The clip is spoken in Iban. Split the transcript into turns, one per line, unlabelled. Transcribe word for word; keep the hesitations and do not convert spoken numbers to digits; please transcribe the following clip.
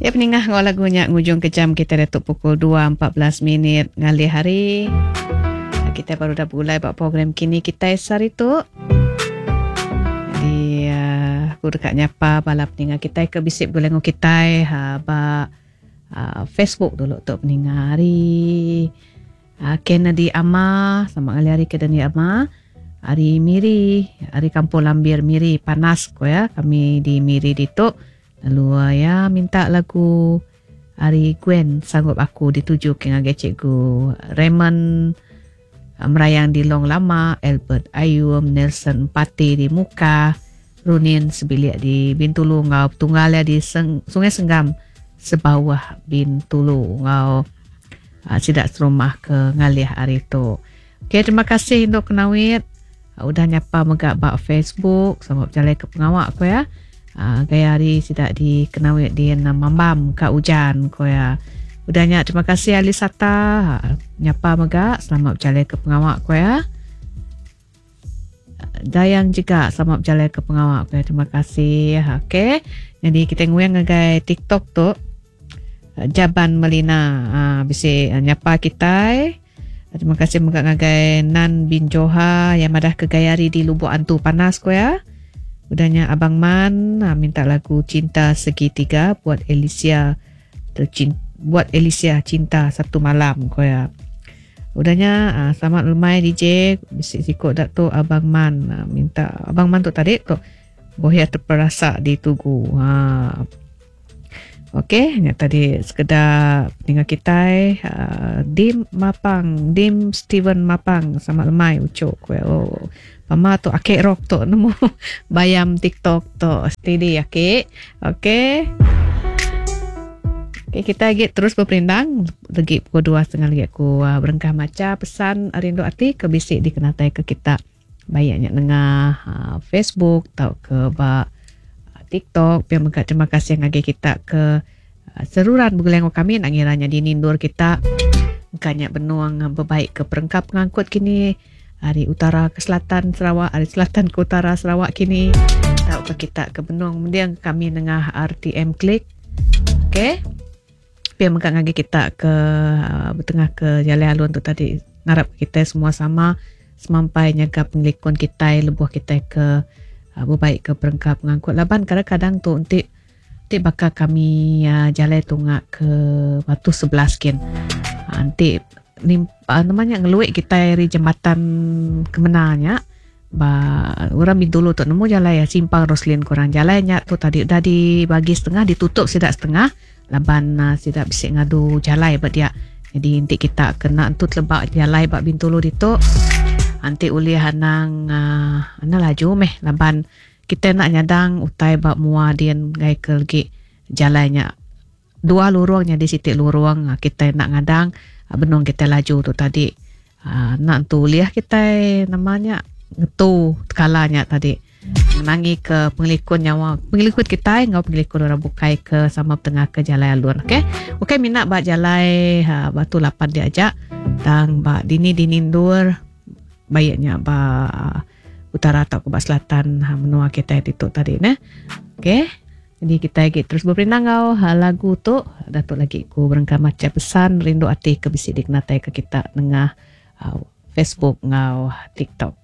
Ya peningah ngau lagunya ngujung ke jam kita datuk pukul dua empat belas minit ngalih hari. Kita baru dah mulai buat program kini kita sehari tu. Jadi uh, aku dekat nyapa bala peningah kita ke bisik boleh ngau kita ha, ba uh, Facebook dulu tu peningah hari. Uh, Kennedy Ama sama ngalih hari Kennedy Ama. Hari Miri, hari Kampung Lambir Miri panas ko ya kami di Miri ditu. Lalu ya minta lagu Ari Gwen Sanggup Aku dituju ke ngagai cikgu Raymond Merayang di Long Lama, Albert Ayum, Nelson Pati di Muka, Runin Sebilik di Bintulu ngau Tunggal ya di Seng, Sungai Senggam sebawah Bintulu ngau uh, sidak serumah ke ngalih hari tu. Okey, terima kasih untuk kenawit. Uh, udah nyapa megak bak Facebook sama berjalan ke pengawak ko ya. Uh, gaya hari sidak di kenawit di Mambam ka hujan ko ya. Udahnya terima kasih Alisata nyapa megak selamat berjalan ke pengawak ko ya. Dayang juga selamat berjalan ke pengawak ko ya. Terima kasih. Okey. Jadi kita nguyang ngagai TikTok tu Jaban Melina uh, bisi nyapa kita. Terima kasih megak ngagai Nan bin Joha yang madah ke gaya hari di Lubuk Antu panas ko ya. Udahnya Abang Man minta lagu Cinta Segitiga buat Alicia tercinta, buat Alicia Cinta Satu Malam ko ya. Udahnya selamat lemai D J bisik sikok dak tu Abang Man minta Abang Man tu tadi tu bohia terperasa di tugu. Ha. Okey, nya tadi sekedar pendengar kita uh, Dim Mapang, Dim Steven Mapang selamat lemai ucok ko ya. Oh. Mama tu akek rock tu nemu bayam TikTok tu steady akek. Okey. Okey, kita lagi terus berperindang lagi pukul dua setengah lagi aku uh, berengkah maca pesan rindu ati ke bisik dikenatai ke kita bayaknya nengah uh, Facebook atau ke ba TikTok. Biar mengkat terima kasih ngagi kita ke uh, seruran bergeleng kami nak ngiranya di nindur kita banyak benuang berbaik ke perengkap pengangkut kini hari utara ke selatan Sarawak, hari selatan ke utara Sarawak kini tahu ke kita ke benuang mendiang kami nengah R T M Klik. Okey. Biar mengkat ngagi kita ke uh, bertengah ke jalan alun tu tadi ngarap kita semua sama semampai nyaga pengelikun kita lebuh kita ke uh, berbaik ke perengkap pengangkut laban kadang-kadang tu untuk tik bakal kami uh, jalan tungak ke Batu sebelas kin. Nanti ni uh, namanya ngeluik kita dari jembatan kemenanya ba orang Bintulu tu nemu jalan ya simpang Roslin kurang jalannya tu tadi dah dibagi setengah ditutup sidak setengah laban uh, sidak bisik ngadu jalan ba dia. Jadi nanti kita kena entut lebak jalan bak Bintulu ditu nanti ulih anang uh, ana laju meh laban kita nak nyadang utai bak mua dien ngai ke legi jalannya dua lurungnya di sitik lurung kita nak ngadang benung kita laju tu tadi uh, nak tu liah kita namanya ngetu kalanya tadi menangi ke pengelikun nyawa pengelikun kita ngau pengelikun orang bukai ke sama tengah ke jalan alun. Okey okey minat bak jalan ha, batu lapan diajak tang bak dini dinindur baiknya bak utara atau ke bak selatan ha, menua kita itu tadi ne. Okey. Jadi kita lagi terus berperindang kau ha, lagu tu datuk lagi ku berengkah macam pesan rindu ati ke bisik dikenatai ke kita nengah uh, Facebook ngau TikTok.